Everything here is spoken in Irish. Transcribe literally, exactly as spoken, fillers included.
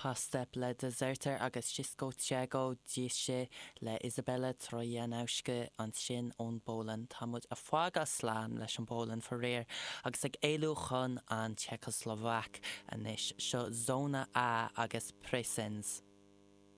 Postęp le Dezerter agus Wszystko Czego Dziś le Izabela Trojanowska ansin ón bPolainn. Tá muid ag fágáil slán leis an bPolainn faraor agus ag éalú chun an tSeicshlovaic anois seo Zona A agus Presens.